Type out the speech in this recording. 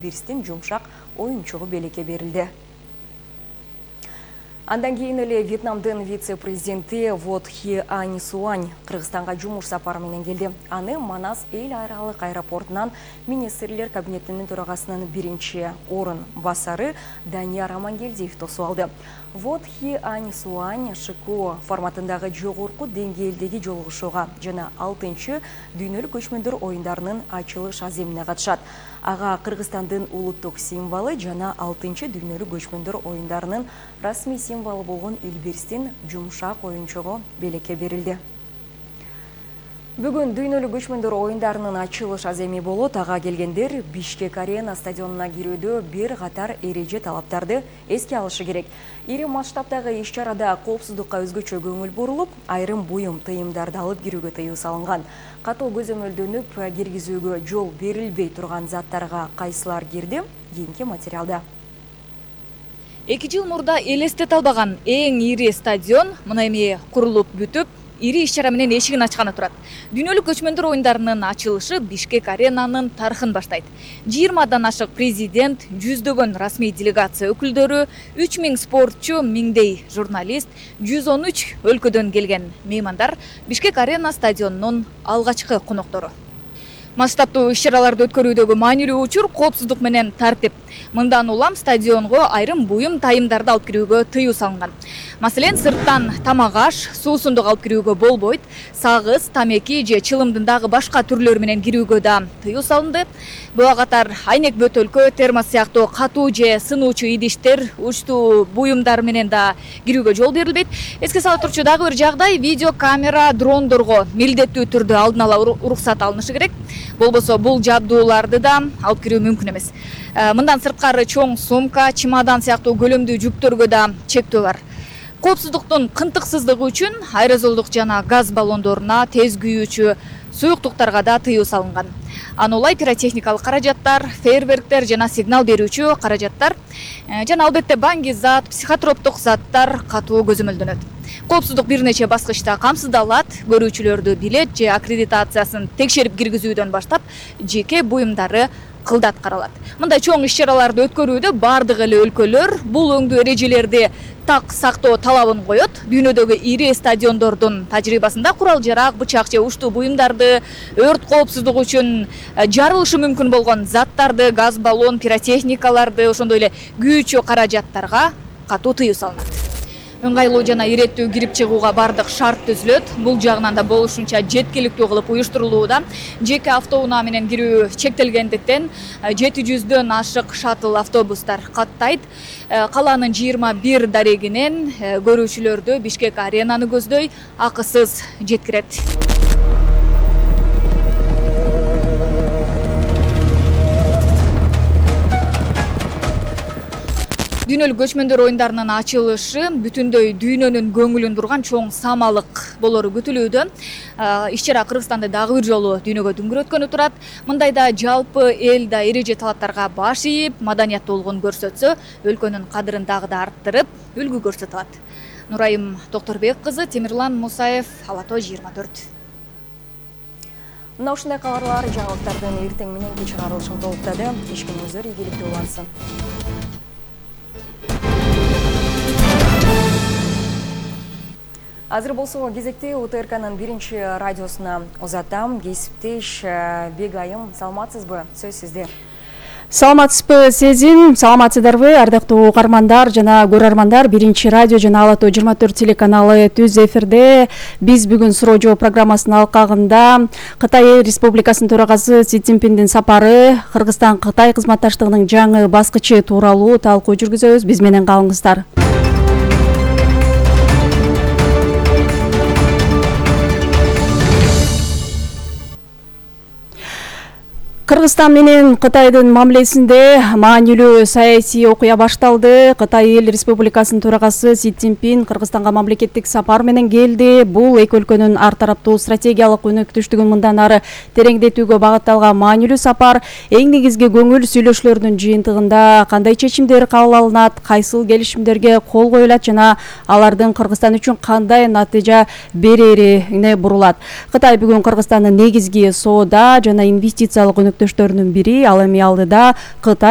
Бирстин жумшак оюнчугу белекке берилди. Андан кийин эле Вьетнамдын вице-президенти Вот Хи Ань Суань Кыргызстанга жумуш сапары менен келди. Аны Манас эл айралык аэропортунан министрлер кабинетинин төрагасынын биринчи орун басары Данияр Амангелдиев тосуп алды. Вот Хи Ань Суань ШКО форматындагы жогорку деңгээлдеги жолугушууга жана 6-чы дүйнөлүк көчмөндөр оюндарынын ачылыш аземине катышат. Ага Кыргызстандын улуттук символу жана 6-чы дүйнөлүк көчмөндөр оюндарынын расмий символу болгон Элбирстин жумшак оюнчугу белекке берилди. Бүгүн дүйнөлүк көчмөндөр оюндарынын ачылыш аземи болот. Ага келгендер Бишкек арена стадионуна кирүүдө бир катар эреже талаптарды эске алышы керек. Ири масштабдагы иш-чарада коопсуздукка өзгөчө көңүл бурулуп, айрым буюм тыйымдарды алып кирүүгө тыюу салынган. Катуу көзөмөлдөнүп, киргизүүгө жол берилбей турган заттарга кайсылар кирди? Кийинки материалда. 2 жыл мурда элестете албаган эң ири стадион мына эми курулуп бүтүп, ири иш-чара менен эшигин ачканы турат. Дүйнөлүк көчмөндөр оюндарынын ачылышы Бишкек аренанын тарыхын баштайт. 20дан ашык президент, жүздөгөн расмий делегация өкүлдөрү, 3000 спортчу, миңдей журналист, 113 өлкөдөн келген меймандар Бишкек арена стадионунун алгачкы коноктору. Масштабтуу иш-чараларды өткөрүүдөгү маанилүү учур коопсуздук менен тартип. Мындан улам стадионго айрым буюм тайымдарды алып кирүүгө тыюу салынган. Маселен, сырттан тамак аш, суусундук алып кирүүгө болбойт. Сагыз, тамеки же чылымдын дагы башка түрлөрү менен кирүүгө да тыюу салынды. Буга катар айнек бөтөлкө, термос сыяктуу катуу же сынуучу идиштер, учтуу буюмдар менен да кирүүгө жол берилбейт. Эске сала турчу дагы бир жагдай, видео камера, дрондорго милдеттүү түрдө алдын ала уруксат алынышы керек. Болбосо бул жабдууларды да алып кирүү мүмкүн эмес. Мындан сырткары чоң сумка, чемодан сыяктуу көлөмдүү жүктөргө да чектөө бар. Коопсуздуктун кынтыксыздыгы үчүн аэрозолдук жана газ баллондоруна, тез күйүүчү суюктуктарга да тыюу салынган. Анулай пиротехникалык каражаттар, фейерверктер жана сигнал берүүчү каражаттар жана албетте баңгизат, психотроптук заттар катуу көзөмөлдөнөт. Коопсуздук бир нече баскычта камсыздалат, көрүүчүлөрдү билет же аккредитациясын текшерип киргизүүдөн баштап жеке буюмдары кылдат каралат. Мындай чоң иш-чараларды өткөрүүдө бардык эле өлкөлөр бул өңдүү эрежелерди так сактоо талабын коет. Дүйнөдөгү ири стадиондордун тажрыйбасында курал-жарак, бычак же уштуу буюмдарды, өрт коопсуздугу үчүн жарылышы мүмкүн болгон заттарды, газ баллон, пиротехникаларды, ошондой эле күйүүчү каражаттарга катуу тыюу салынат. Ыңгайлуу жана иреттүү кирип чыгууга бардык шарт түзүлөт. Бул жагынан да болушунча жеткиликтүү кылып уюштурулууда. Жеке автоунаа менен кирүү чектелгендиктен 700дөн ашык шаттл автобустар каттайт. Калаанын 21 дарегинен көрүүчүлөрдү Бишкек аренаны көздөй акысыз жеткирет. Дүйнөлүк көчмөндөр оюндарынын ачылышы бүтүндөй дүйнөнүн көңүлүн бурган чоң самалык болору күтүлүүдө. Иш-чара Кыргызстанды дагы бир жолу дүйнөгө дүңгүрөткөнү турат. Мындайда жалпы эл да эреже талаптарга баш ийип, маданиятуулугун көрсөтсө, өлкөнүн кадырын дагы да арттырып, үлгү көрсөтө алат. Нурайым Токторбек кызы, Темирлан Мусаев, Ала Тоо 24. Мына ушундай кабарлар жаңылыктардын эртең мененки чыгарылышын толуктады. Ишкениңиздер ийгиликтүү улансын. Азыр болсо кезекте УТРКнын биринчи радиосуна узатам. Кесиптеш Бегайым, саламатсызбы? Сөз сизде. Саламатсызбы Сезин, саламатсыздарбы ардактуу угармандар жана көрөрмандар. Биринчи радио жана Ала Тоо 24 телеканалы түз эфирде. Биз бүгүн суроо жооп программасынын алкагында Кытай Республикасынын төрагасы Си Цзиньпиндин сапары, Кыргызстан-Кытай кызматташтыгынын жаңы баскычы тууралуу талкуу жүргүзөбүз. Биз менен калыңыздар. Кыргызстан менен Кытайдын мамилесинде маанилүү саясий окуя башталды. Кытай эл республикасынын төрагасы Си Цзиньпин Кыргызстанга мамлекеттик сапар менен келди. Бул эки өлкөнүн ар тараптуу стратегиялык өнөктөштүгүн мындан ары тереңдетүүгө багытталган маанилүү сапар. Эң негизги көңүл сүйлөшүүлөрдүн жыйынтыгында кандай чечимдер кабыл алынат, кайсыл келишимдерге кол коюлат жана алардын Кыргызстан үчүн кандай натыйжа берерине бурулат. Кытай бүгүн Кыргызстандын негизги соода жана инвестициялык сериктештөрүнүн бири, ал эми алдыда Кытай